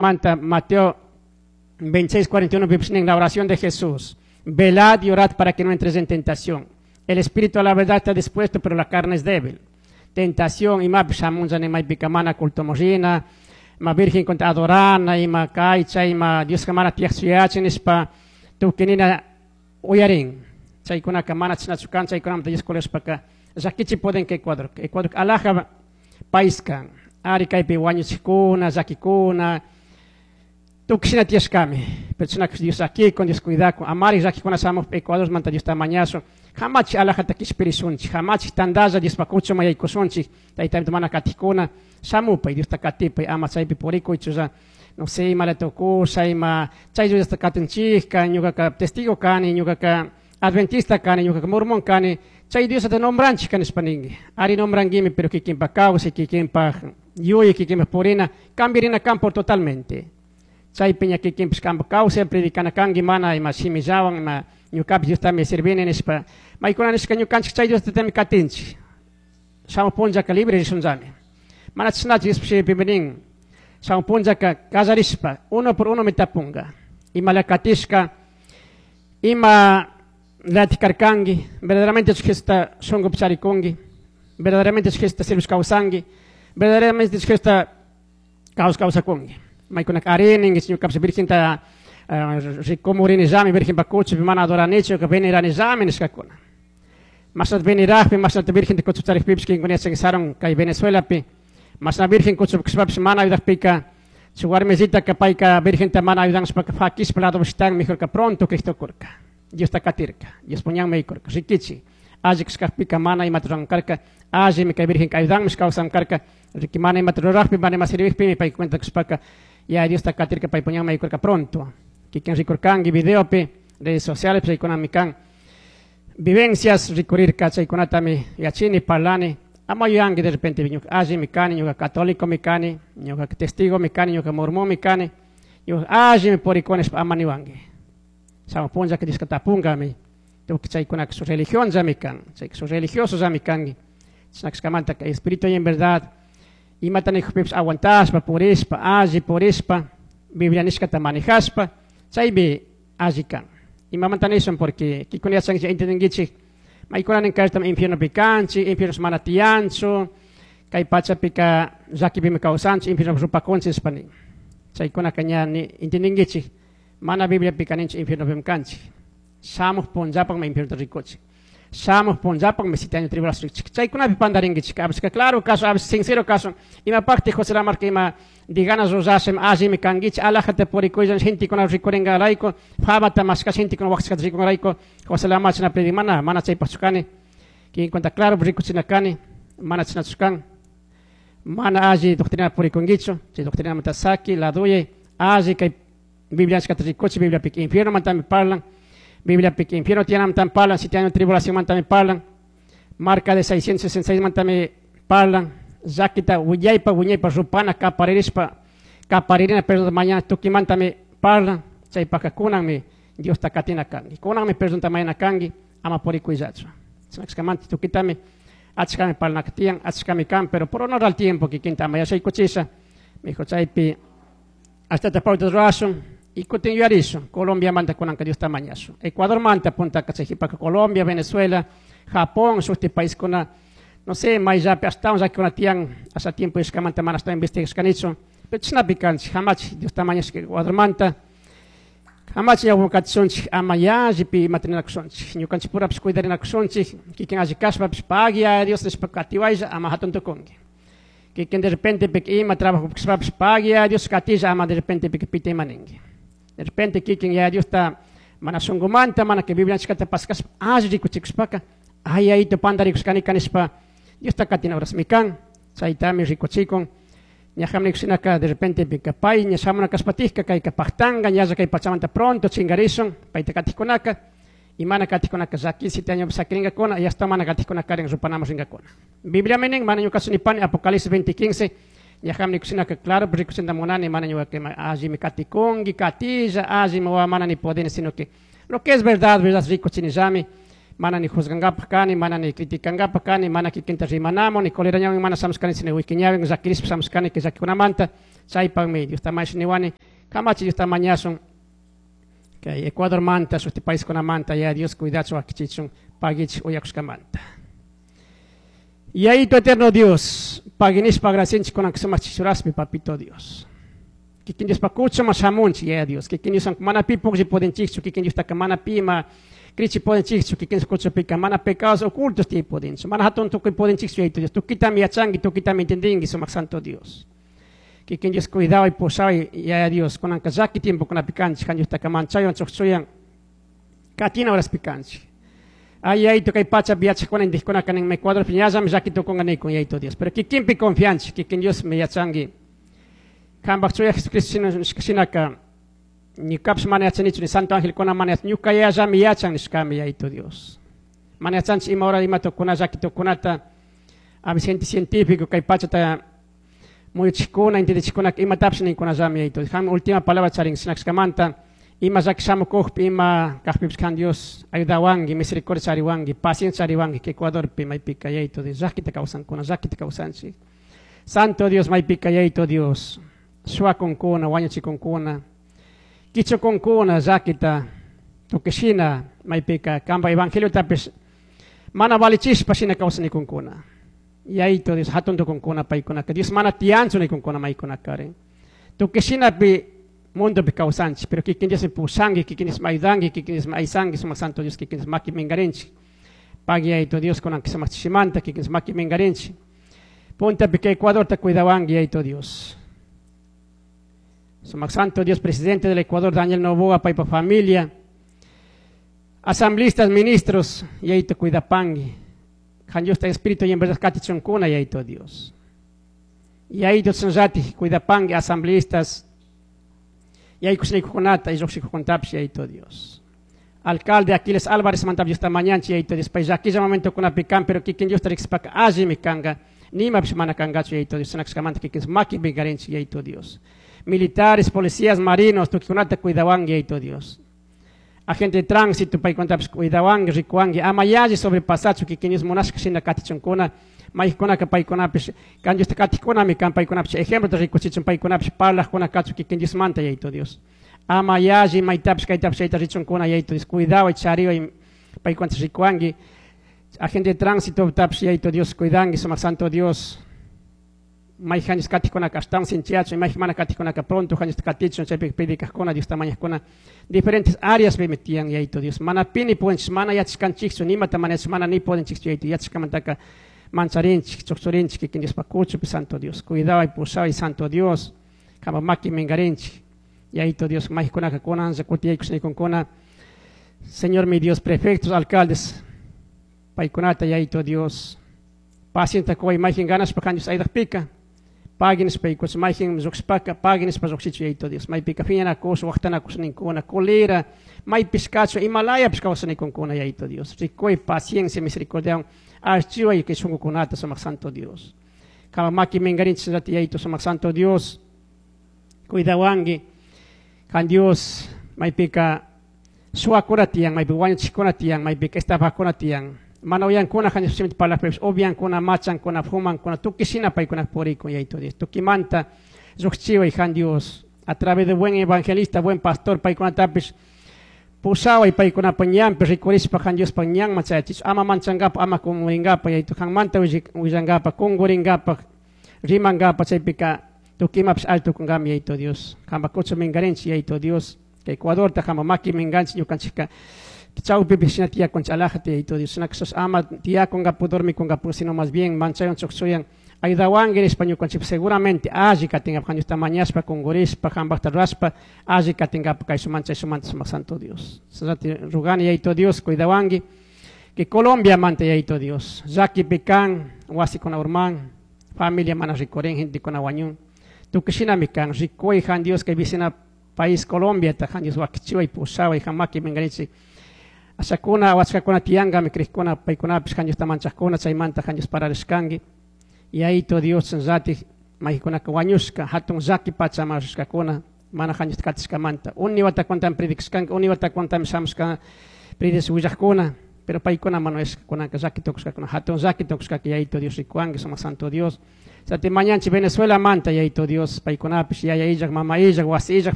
Manta Mateo 26:41 en la oración de Jesús. Velad y orad para que no entres en tentación. El espíritu a la verdad está dispuesto, pero la carne es débil. Tentación, imapish shamunlla maypika mana cultoman rina, ima virgen contra adorana, ima kaycha, ima Diosqa mana tiyaqchu yachin nishpa tukuy uyarin. Chaykunaka mana chashnachu kan, chaykunamanta Dios kulashpaka llakichi pudin kay Ecuador. Ecuador alaja país kan. Ari kaypi wañuchikuna, llakikuna, tukuy tiyashkami. Pero chashna Dios llakikun, Dios cuidakun. Amari llakikuna shamuj Ecuador manta Diosta mañashun. Hamachi alajata kishpirishunchik, hamachi tandalla Diospa kuchuman yaykushunchik, tayta mana katikuna, shamupay Diosta katipay, ama chaypi purikuychulla, no sé, ima tukusha, ima chay Diosta katinchikka, ñukaka testigo kani, ñukaka adventista kani, ñukaka mormón kani, chay Diosta nombranchik nishpa ninki. Ari nombranguimi, pero kikinpa kawsay, kikinpa yuyi, kikinpa purina, cambiarina kan por totalmente. Chaypi ña kikinpish kanpa kawsay, predicana kanki mana ima shimillawan, ima ñukapish Diostami sirvini nishpa, maykuna nishka ñukanchik chay Diostatami katinchik. Shamuj punllaka libre rishunllami. Mana chashnachu Diospa shimipimi nin, shamuj punllaka kallarishpa, uno por uno mi tapunga. Ima katishka, ima latik karkanki, verdaderamente Jesusta shunkupi charikunki, verdaderamente Jesusta sirvish kawsanki, verdaderamente Jesusta kaws kawsakunki. Maykunaka ari ninki ñukapish virgenta rikumurinillami, virgenpa kuchupi mana adoranichu, veneranillami nishkakuna. Mashnata venerajpi, mashnata virgenta kuchupi charikpipish kinkuna yachanki sarun kay Venezuelapi, mashna virgen kuchupi kashpapish mana ayudakpika, shuk warmisitaka payka virgenta mana ayudanshpaka fakishpa lado shitan, mejorka pronto Cristo kurka. Diosta katirka, Dios puñanmi yaykurka, rikichi. Alli kashkakpika mana imata rurankarka, allimi kay virgenka ayudanmish kawsankarka, riki mana imata rurajpi, mana ima sirvijpimi pay cuenta kashpaka, ya Diosta katirka pay puñanmi yaykurka pronto. Kikin rikurkanki videopi, redes sociales chaykunami kan vivencias rikurirka, chaykunatami yachini, parlani, ama yuyanki de repente ñuka allimi kani, ñuka católico mi kani, ñuka testigo mi kani, ñuka mormón mi kani, ñuka allimi purikuni nishpa ama niwanki. Shamuj punllaka Dioska tapungami, tukuy chaykunaka su religión llami kan, chayka su religioso llami kanki. Chashna kashkamanta espíritu y en verdad, imata nijukpipish aguantashpa, purishpa, alli purishpa, Biblia nishkata manejashpa, chaymi alli kan. Imamanta nishun porque kikuna yachankichik entendinkichik, maykunanin kaytam infiernopi kanchik, infierno mana tiyanchu, kay pachapika llakipimi kawsanchik, infiernopi rupakunchik nishpa nin. Chaykunaka ña entendinkichik, mana Bibliapika ninchik infiernopimi kanchik. Shamuj punllapakmi infierno rikuchik. Shamuj punllapakmi siete años tribulación rikuchik. Chaykunapi pandarinkichik. A veces claro caso, a veces sincero caso. Imapakti José Lamarca ima diganas rurashim allimi kankichik, alajata purikuylla gentekuna rikuringarayku, famata mashkash gentekuna waqchashkata rikungarayku, José Lamarca chashna predic mana, mana chaypaqchu kani. Kikin cuenta claro rikuchina kani, mana chashnachu kan. Mana alli doctrina purikunkichu, chay doctrinamanta saki, laduye, alli kay Biblia nishkata rikuchi, Bibliapika infiernomantami parlan, Bibliapika infierno tiyanamantami parlan, siete años tribulación mantami parlan, marca de 666 mantami parlan, llakita wiñaypa wiñaypa rupana kaparirishpa, kaparirina perdón mañana tukimantami parlan, chaypaka kunanmi Diosta katina kanki, kunanmi perdonta mañana kanki, ama purikuyllachu. Chashna tukitami achkami parlanaka tiyan, achkami kan, pero por honor al tiempo kikinta ama yachaykuchisha, mijo chaypi ashtata pauta rurashun, y kutin yuyarishun, Colombia manta kunanka Diosta mañashun, Ecuador manta puntaka chay jipaka Colombia, Venezuela, Japón, shuti paiskuna, no sé, mayllapi ashtawan llakikuna tiyan, asha tiempo ishkamanta mana ashtawan investigashkanichu, pero chashnapi kanchik, hamachik Diosta mañashka Ecuador manta, hamachik ñawpa katishunchik, ama yallipi imata ninakushunchik, ñukanchik purapish cuidarinakushunchik, kikin alli kashpapish pagui Dios nishpa katiwaylla ama hatun tukunki. Kikin de repente pik ima trabajo kashpapish pagui Dios katilla ama de repente pik pita ima ninki. De repente kikin ya Dios ta mana shunkumanta, mana que Biblia nishkata paskashpa alli rikuchikushpaka, ay ayito pandarikushkani kanishpa Dios ta katina horasmi kan, chaytami rikuchikun. Ñajam nikushinaka de repente pika pay, ña shamuna kashpatijka, kayka pajtanga, ñalla kay pachamanta pronto chingarishun, payta katijkunaka, y mana katijkunaka llaki siete años sakiringakuna, y hasta mana katijkunaka karin rupanamos ringakuna. Biblia menen, mana ñuka sunipani, Apocalipsis 20:15, ñajam nikushinaka claro, rikuchinta munani, mana ñuka que allí me katikungi, katilla, allí me wa mana ni podeni, sino que lo que es verdad, verdad rikuchinillami, Mana ni juzgangapaj kani, mana ni criticangapaj kani, mana kikinta rimanamun, ni colerañawin mana shamushkani, sino wikiñawin llakirishpa shamushkani kay llakikunamanta. Chaypaqmi Diosta mañash niwani, kamachi Diosta mañashun. Kay Ecuadormanta, shuti paiskunamanta, ya Dios cuidachun, wakichichun, paguich uyakushkamanta. Yayito eterno Dios, paginishpa agradecinchik kunan sumaq chichuraspi, papito Dios. Kikin Diospa kuchuma shamunchik, ya Dios. Kikin Dios mana pi puklli pudinchikchu, kikin Diostaka mana pi ima krichi pudinchikchu, kikin Dios kuchupika mana pecados ocultos tiyay pudinchu, mana hatun tukuy pudinchikchu, Yayito Dios. Tukitami yachanki, tukitami entendinki, sumaq santo Dios. Kikin Dios cuidaway, pushaway, Yaya Dios. Kunanka llaki tiempokunapi kanchik, kan Diostaka manchaywan chukchuyan, katina horaspi kanchik. Ay, Yayito, kay pachapi yachajkuna indijkunaka nin, Ecuadorpi ñallami llaki tukunka nikun, Yayito Dios. Pero kikinpi confianchik, kikin Dios me yachanki. Kanpak chuya Jesucristo shinaka, ñukapish mana yachanichu, ni santo angelkuna mana yachan, ñuka yayallami yachan nishkami, Yayito Dios. Mana yachanchik ima hora ima tukuna, llaki tukunata, a veces gente científico kay pachata muyuchikkuna, entendichikkuna, imatapish ninkunallami, Yayito Dios. Qanmi última palabra charin, shinakashkamanta, ima llaki shamukukpi, ima kajpipish kan Dios ayudawanki, misericordia chariwanki, paciencia chariwanki, que Ecuadorpi maypika, Yayito Dios, llakita kawsankuna, llakita kawsanchik. Santo Dios, maypika, Yayito Dios, shuwakunkuna, wañuchikunkuna, kichukunkuna, llakita, tukishina, maypika, kanpa evangeliotapish mana valichishpa shina kawsanikunkuna. Yayito Dios, hatun tukunkuna paykunaka, Dios mana tiyanchu nikunkuna maykunakari. Tukishinapi mundopi kawsanchik, pero kikin Dios pushanki, kikin Dios ayudanki, kikin Dios aysanki, sumaq santo Dios, kikin Dios maki minkarinchik. Pagui Yayito Dios kunan sumaq chishimanta, kikin Dios maki minkarinchik. Puntapi kay Ecuadorta cuidawanki, Yayito Dios. Sumaq santo Dios, presidente del Ecuador, Daniel Noboa, paypa familia, asambleístas, ministros, Yayito cuidapanki. Kan Dios espíritu y en verdad katichunkuna, Yayito Dios. Yayito tsanllati cuidapanki, asambleístas, yaykushnikukunata y lluqshikukuntapish, Yayito Dios. Alcalde Aquiles Álvarez mantap Diosta mañanchik, Yayito Dios, pay llakilla momentokunapi kan, pero kikin Diosta riqsipaka allimi kanka, nimapish mana kankachu, Yayito Dios, shinakashkamanta kikin makipi karinchik, Yayito Dios. Militares, policías, marinos, tukikunata cuidawanki, Yayito Dios. Agente de tránsito, paykunatapish cuidawanki, rikuwanki, ama yalli sobrepasachu, kikin Dios munashka shina katichunkuna, maykunaka paykunapish, kan Diosta katikkunami kan paykunapish, ejemplota rikuchichun paykunapish, parlajkuna kachu kikin Diosmanta, Yayito Dios. Ama yalli maytapish, kaytapish, chayta richunkuna, Yayito Dios, cuidaway, chariway, paykunata rikuwanki. Agente de tránsito, tapish, Yayito Dios, cuidanki, sumaq santo Dios. Mayjan katikkunaka ashtawan sinchiyachun, mayjan mana katikkunaka pronto janchis katichun, chaypi predicajkuna, Diosta mañajkuna, diferentes áreas pi tiyan, Yayito Dios. Mana pi ni pudenchik, mana yachashkanchikchu, nimata mana yachashka, mana ni pudenchikchu, Yayito, yachashkamantaka mancharinchik, chukchurinchik, kikin Diospa kuchupi, Santo Dios. Cuidaway, pushaway, Santo Dios. Kanpa maki minkarinchik. Yayito Dios, maykunaka kunanlla kutiyaykushnikunkuna. Señor mi Dios, prefectos, alcaldes, paykunata, Yayito Dios. Paciencia kuway, mayjin ganashpa kan Dios aydajpika. Pagui nispa, mayjin lluqshpaka, pagui nispa lluqshichu, Yayito Dios. Maypika phiñanakush, waqtanakush ninkuna, colera, maypish kachu, imalayapish kawsanikunkuna, Yayito Dios. Rikuy, paciencia, misericordia, archiway kay shunqukunata, sumaq santo Dios. Kama maki minkarinchik, Yayito, sumaq santo Dios. Cuidawanki, kan Dios, maypika suwakuna tiyan, maypi wañuchikuna tiyan, maypika estafakuna tiyan. Mana uyankuna kan Dios simita parlajpipish, upiankuna, machankuna, fumankuna, tukuy shina paykuna purikun, Yayito Dios. Tukimanta lluqchiway kan Dios, a través de buen evangelista, buen pastor, paykunatapish pushaway paykunapa ñanpi rikurishpa kan Diospa ñanman chayachichu, ama manchankapa, ama kumuringapa, Yayito, kanmanta willankapa, kunguringapa, rimankapa, chaypika tukuy imapish alli tukunkami, Yayito Dios. Kanpa kuchu minkarinchik, Yayito Dios, kay Ecuadorta kanpa maki minkanchik, ñukanchikka chawpipi shina tiyakunchik alajata, Yayito Dios. Shina kashas ama tiyakunkapu, dormikunkapu, sino más bien manchaywan chukchuyan ayudawanki nishpa ñukanchik seguramente alli katinkapak, kan Diosta mañashpa, kungurishpa, kanpakta rurashpa, alli katinkapak kay manchay sumanta, sumaq santo Dios. Sallati rugani, Yayito Dios, cuidawanki, que Colombia manta, Yayito Dios. Llakipi kan, wasikuna urman, familia mana rikurin, gentekuna wañun. Tukuy shinami kan, rikuy, jan Dios, kay vecina país Colombia, ta jan Dios wakichiway, pushaway, jan maki minkarinchik. Ashakuna, wachkakuna tiyankami, krejkuna, paykunapish, jan Diosta manchajkuna, chaymanta jan Dios pararishkanki. Yayito Dios, llati, maykunaka wañushka, hatun llaki pachaman rishkakuna, mana jan Diosta katishkamanta. Uni watakuntami predicashkanki, uni watakuntami shamushka predish willajkuna, Pero paicuna mana cunanca llaqui tucushcacuna, hatun llaqui tucushcaca, Yayito Dios ricuangui, sumak Santo Dios. Sati mañanchik Venezuela manta, Yayito Dios, paicunapish yaya illak, mama illak, wasi illak.